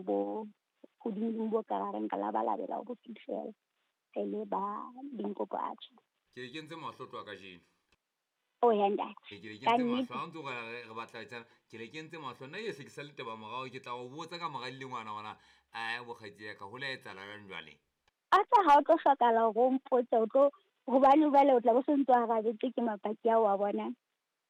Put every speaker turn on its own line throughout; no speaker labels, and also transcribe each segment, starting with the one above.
boemo bo hodimo bo ka reng ka labalabela ho bo fihlela re le ba Limpopo Atjha.
Ke le kentse mahlo tloha kajeno.
O ya ntate.
Ke le
Ka
kentse
nnete.
mahlo ha o ntse o re re batla etsana, ke le kentse mahlo. Nna e se ke sa le taba morao, ke tla o botsa ka mora dilengwana hore na ae bokgaitsedi ya ka ho la etsahala jwang jwale.
A tsa ha o tlo hlokahala hore o mpotse, o tlo hobane jwale o tla bo se ntse o arabetse ke mapaki ao wa bona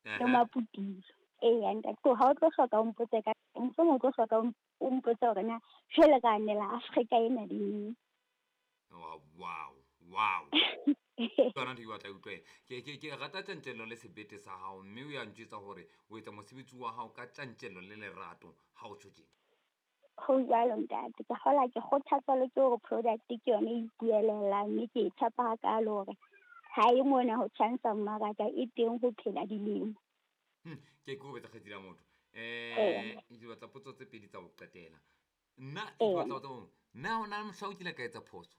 le maputula. Eya ntate, so ha o tlo hloka o mpotse ka mohlomong o tlo hloka o mpotse hore na jwale re anela Afrika ena le neng.
Wow, wow, wow. Yona ntho ke batla e utlwe. Ke rata tjantjello le sebete sa hao, mme o ya ntjwetsa hore o etsa mosebetsi wa hao ka tjantjello le lerato ha o tjho tjena.
Ho jwalo ntate, ke kgola ke kgothatswa le ke hore product ke yone e ipuelelang, mme ke e tshepa hakalo hore ha e mona ho tjhantsha mmaraka, e teng ho phela dilemo.
Ke kokobetsa kgaitsedi ya motho.
Ee.
Ke batla potso tse pedi tsa ho qetela. Nna ke batla ho tseba hore na ho na le mohla o kile ka etsa phoso?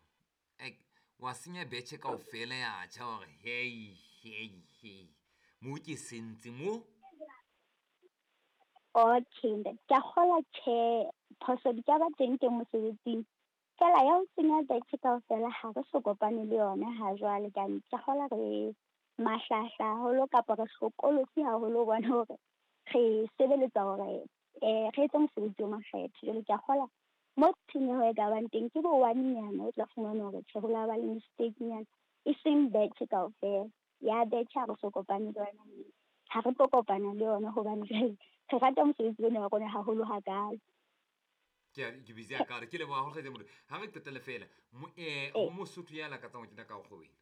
Wa senya betjhe kaofela ya tjha hore hei, hei, hei, mo ke sentse mo?
Okay ntate, ke a kgolwa tjhe, phoso di ka ba teng teng mosebetsing. Feela ya ho senya betjhe kaofela ha re so kopane le yona ha jwale, ka ke kgolwa re mahlahla haholo kapa re hlokolosi haholo ho bona hore re sebeletsa hore re etse mosebetsi o makgethe. Jwale ke a kgolwa mo tshenyeho e ka bang teng ke bo one-nyana o tla fumana hore tjhe ho la ba le mistake-nyana, e seng betjhe kaofela. Ya betjhe ha re so kopane le yona, mme ha re tlo kopana le yona hobane jwale re rata mosebetsi ona wa rona haholo hakalo.
Ke busy ya ka re ke leboha haholo kgaitsedi motho. Ha re qetelle fela, ho Mosotho ya lakatsang ho kena ka kgwebong ena.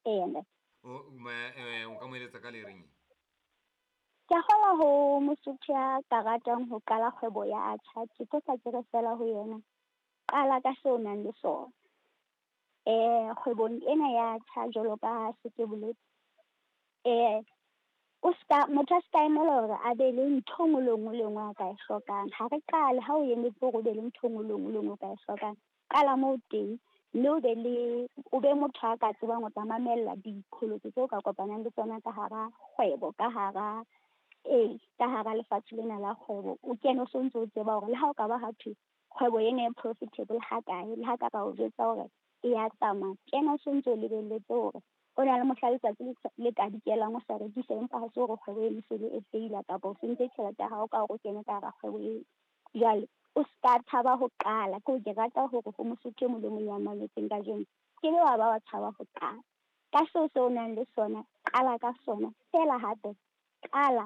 Ee, ntate.
O ka mo eletsa ka le reng?
Ke a kgolwa ho Mosotho ya ka ratang ho qala kgwebo ya atjha, ke tlo tla ke re fela ho yena, qala ka seo o nang le sona. Kgwebong ena ya atjha jwalo ka ha se ke boletse, o ska, motho a ska emela hore a be le ntho e nngwe le nngwe le nngwe a ka e hlokang. Ha re qale ha o emetse hore o be le ntho e nngwe le nngwe le nngwe o ka e hlokang, qala moo teng, mme o be le, o be motho a ka tsebang ho tla mamella diqholotso tseo ka kopanang le tsona ka hara kgwebo, ka hara, ee, ka hara lefatshe lena la kgwebo. O kene o sontso o tseba hore le ha o ka ba ha thwe kgwebo ena e profitable ha kae, le ha ka ba o jwetsa hore e ya tsamaya, kena o sontso o lebelletse hore o na le mohla letsatsi le ka dikelang o sa rekise, empa ha se hore kgwebo eno e se le e feila kapa o sentse tjhelete ya hao ka hore o kene ka hara kgwebo eo. Jwale o ska tshaba ho qala. Ke hore ke rata hore ho Mosotho e mong le mong ya mametseng kajeno, ke be wa ba wa tshaba ho qala. Ka seo se o nang le sona, qala ka sona. Feela hape qala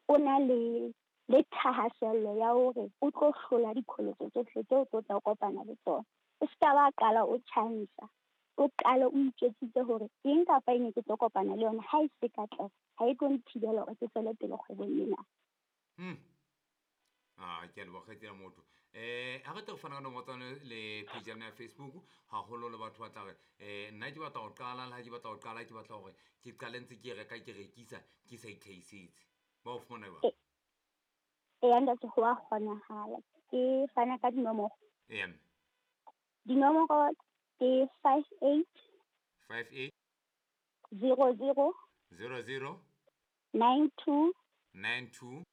o na le thahasello ya hore o tlo hlola diqholotso tsohle tseo o tlo tla kopana le tsona. O ska ba qala o tjhantsha, o qale o itjwetsitse hore eng kapa eng e ke tlo kopana le yona, ha e se katleho, ha e tlo nthibela hore ke tswele pele kgwebong ena.
Ke a leboha kgaitsedi ya motho. Ha re tle re fana ka nomoro tsa lona le page ya lona ya Facebook, haholo le batho ba tla re, nna ke batla ho qala, le ha ke batla ho qala, ke batla hore ke qale ntse ke reka, ke rekisa, ke sa itlhahisetse. Ba o fumana jwang?
Eya ntate, ho a kgonahala. Ke fana ka dinomoro.
Eya, mme.
Dinomoro ke five eight,
Five eight,
zero zero,
zero zero,
nine two,
nine two,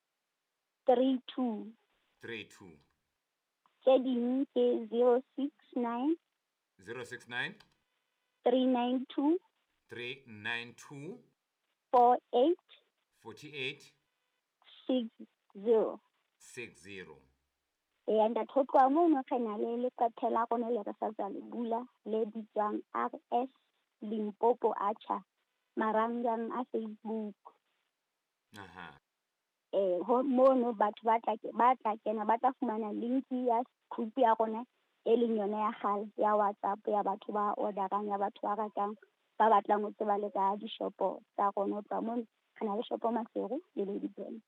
three two.
three two.
Tse ding ke 069,
069,
392,
392,
48,
48,
60.
60.
Eya ntate, ho tloha mono re na le leqephe la rona le re sa tswa le bula, le bitswang RS Limpopo Atjha, marangrang a Facebook. Ho mono batho ba tla ke-, ba tla kena, ba tla fumana link ya group ya rona e leng yona ya kgale ya WhatsApp ya batho ba orderang, ya batho ba ratang, ba batlang ho tseba le ka dishopo tsa rona. Ho tloha mono re na le shopo Maseru le Ladybrand.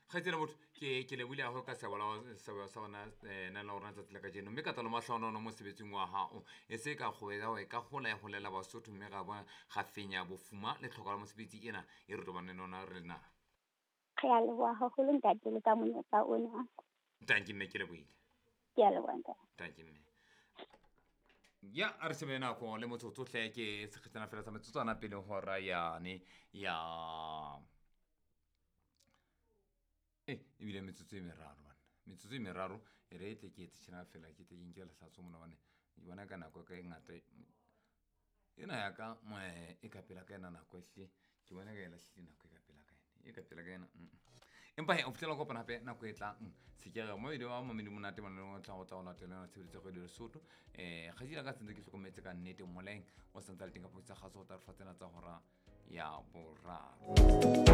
Kgaitsedi motho, ke lebohile haholo ka seabo la hao, seabo sa rona, na la rona tsatsi la kajeno. Mme ka tlalo mahlohonolo mosebetsing wa hao. E se ka kgwebo ya hao e ka hola ya holela Basotho, mme ra bona ra fenya bofuma le tlhoko la mosebetsi ena e re tobaneng le yona re le naha.
Re a leboha haholo ntate le ka monyetla ona.
Tanki mme, ke lebohile.
Ke a leboha ntate.
Tanki mme. Ya, a re shebe nako le motsotso hle, ke sekgethana fela sa metsotswana pele hora yane ya. Ebile metsotso e meraro banna, metsotso e meraro e re e tle ke etse tjhena fela, ke tle ke nke lehlatso mona bane ke bona ka nako ka e ngata ena ya ka e ka pela ka ena nako ehlile ke bona ka e lahlile nako e ka pela ka ena, e ka pela ka ena. Empa he o fihlela kopana hape nako e tlang sekere mo wa mamedi monate mona le tla go tla go latela yona tshebeletso ya kgwedi Lesotho. Kgatsila ka sentse ke hlokometse ka nnete moleng o santse le teng ka tsa kgaso go tla re fa tsena tsa hora ya boraro.